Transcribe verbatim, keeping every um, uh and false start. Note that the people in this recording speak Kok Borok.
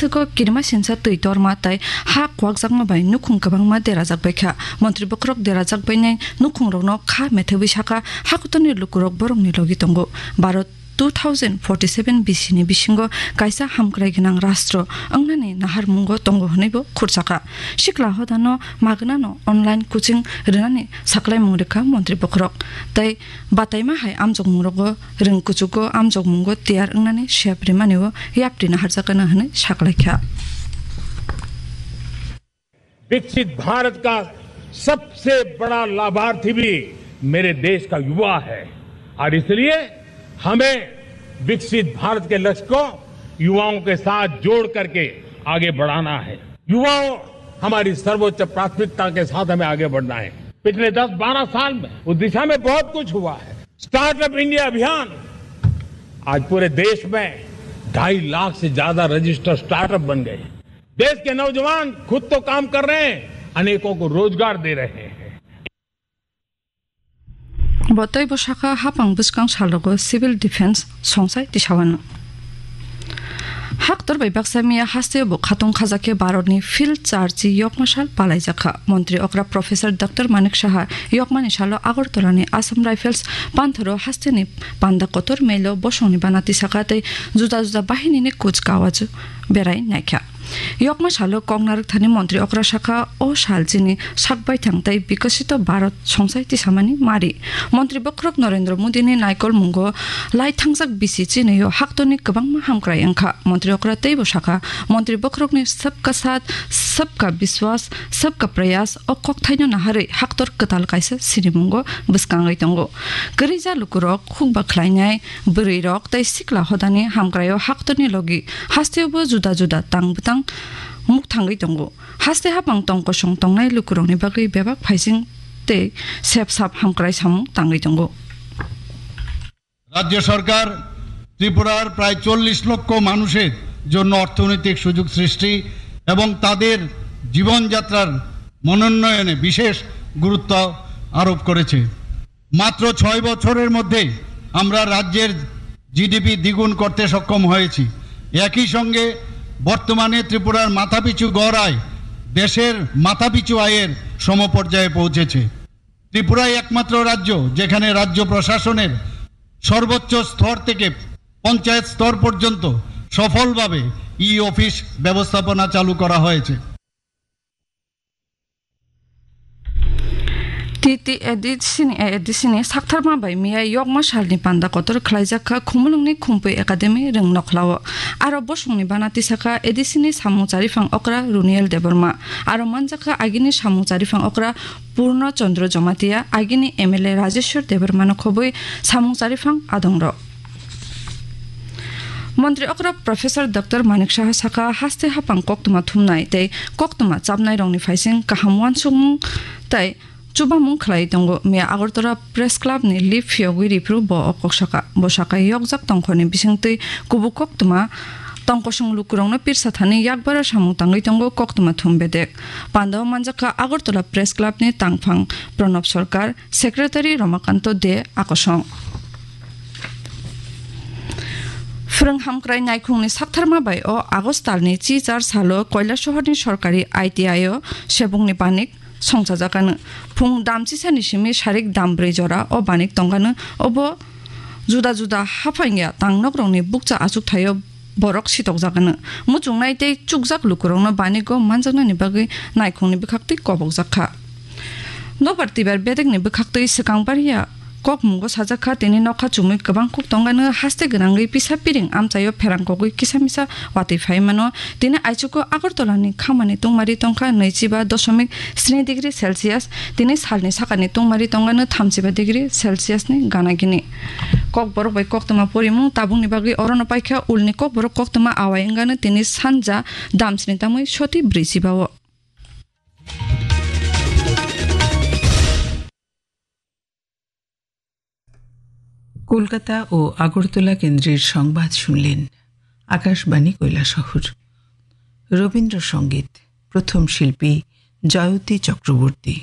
Tei ko kirima sinsa twi torma tei ha kwakjakma bai nukhung kwbangma derajak bai kha. Montri bokhorok derajak bainai nukhungrokno kha methebwi sakha, hakotorni lukurok borokni logi tongo. Bharat two thousand forty-seven bisini bisingo kaisa hamkrai gwnang rastro wngnani naharmungo tongo hwnwibo khurchakha. Sikla hodano magnano online coaching rwnani saklaimung rwkha montri bokhorok. Tei bataima hai amjokmungrogo rwng kuchugo amjokmungo tiyar wngnani sep rimani o yapri naharjakgana hwnwi saklaikha. विकसित भारत का सबसे बड़ा लाभार्थी भी मेरे देश का युवा है और इसलिए हमें विकसित भारत के लक्ष्य को युवाओं के साथ जोड़ करके आगे बढ़ाना है। युवाओं, हमारी सर्वोच्च प्राथमिकता के साथ हमें आगे बढ़ना है। पिछले दस बारह साल में उस दिशा में बहुत कुछ हुआ है। स्टार्टअप इंडिया अभियान, आज पूरे देश में ढाई लाख से ज्यादा रजिस्टर्ड स्टार्टअप बन गए। देश के नौजवान खुद तो काम कर रहे हैं, अनेकों को रोजगार दे रहे हैं। Bo tei bo sakha hapang bwskang salrogo civil defense songsai tisawano. Haktor bai baksa miya hasteo bo khatung khajakhe Bharatni field charchi yokma sal palaijakha. Montri okra Professor Doctor Manik Saha yokmani salo Agartalani Assam Rifles panthoro hasteni panda kotor melo bosongni bana tisakha tei juda juda bahinini kuch kawaju berai naikha. Yokma salo kok narwkthani montri okra sakha, o sal chini sak baithang tei bikosito Bharat songsai tisamani mari. Montri bokhorok Narendra Modini naikolmungo lai thangjak bisi chinio haktorni kwbangma hamkrai wngkha. Montri okra teibo sakha, montri bokhorokni sabka saath, sabka biswas, sabka prayas o kokthaino naharwi haktor kwtal kaisa sinimungo bwskangwi tongo. Kwrwija lukurok hukba khlainai, bwrwirok tei sikla hodani hamkraio haktorni logi hasteobo juda juda tang bwtang mukthangwi tongo. Haste hapang tong kosong tongnai lukurokni bagwi bebak phaising tei sep sap hamkrai samung tangwi tongo. রাজ্য সরকার ত্রিপুরার প্রায় চল্লিশ লক্ষ মানুষের জন্য অর্থনৈতিক সুযোগ সৃষ্টি এবং তাদের জীবনযাত্রার মনোন্নয়নে বিশেষ গুরুত্ব আরোপ করেছে। মাত্র ছয় বছরের মধ্যে আমরা রাজ্যের জিডিপি দ্বিগুণ করতে সক্ষম হয়েছি। একই সঙ্গে বর্তমানে ত্রিপুরার মাথাপিছু গড় আয় দেশের মাথাপিছু আয়ের সমপর্যায়ে পৌঁছেছে। ত্রিপুরাই একমাত্র রাজ্য যেখানে রাজ্য প্রশাসনের সর্বোচ্চ স্তর থেকে পঞ্চায়েত স্তর পর্যন্ত সফলভাবে ই অফিস ব্যবস্থাপনা চালু করা হয়েছে। T T A D C ni, A D C ni saktharma bai miya yokma salni panda kotor khlaijak kha Khumulwngni Khumpui Academy Rwngnokhlao. Aro bosongni bana tisakha A D C ni samung chariphang okra Runiel Debbarma. Aro manjakha agini samung chariphang okra Purno Chandra Jamatia, agini M L A Rajeshwar Debbarmano khobwi samung chariphang adongrok. Montri okra Professor Doctor Manik Saha sakha, haste hapang koktwma thumnai tei koktwma chapnairokni phaising kaham uansukmung tei chubamung khlai tongo. Miya Agartala Press Club ni lip phiyogwi riphuru bo o kok sakha. Bo sakha, yokjak tongkhorni bisingtwi kubuk koktwma tongkosong lukurokno pirsa thani yakbara samung tangwi tongo koktwma thum bedek. Pandao manjakha Agartala Press Club ni tangphang Pranab Sarkar, Secretary Ramakanto De Akosong. Phrwng hamkrai naikhungni saktharma bai o August talni chi char salo Kailasohorni sorkari I T I o sebungni banik songchajakano. Phung dam chisani simi sarik dam brwi jora o banik tongkano. Obo juda juda haphangya tangnokrokni bukcha achukthai-o borok sitokjakano. Muchungnai tei chukjak lukurokno banigo manjaknani bagwi naikhungni bwkhaktwi kobokjak kha. Nokbar twibar bedekni bwkhaktwi swkang bariya kokmungo sajak kha, tini nokha chumui kwbang kuk tongkano haste gwnangwi pisa piring amchaio pherang kogwi kisa misa watwi phai mano. Tini aichugo Agartalani khamani tungmari tongkha naichiba dosomik sni degree Celsius, tini salni sakani tungmari tongkano thamchiba degree Celsius ni gana gini. Kokborok bai koktwma porimung tabukni bagwi orono paikha, ulni kokborok koktwma awai wngkano tini sanja damsni tamwi soti brwi chiba-o. Kolkata ও আগরতলা কেন্দ্রের সংবাদ শুনলেন আকাশবাণী কৈলাসহর। রবীন্দ্রসঙ্গীত, প্রথম শিল্পী জয়তী চক্রবর্তী।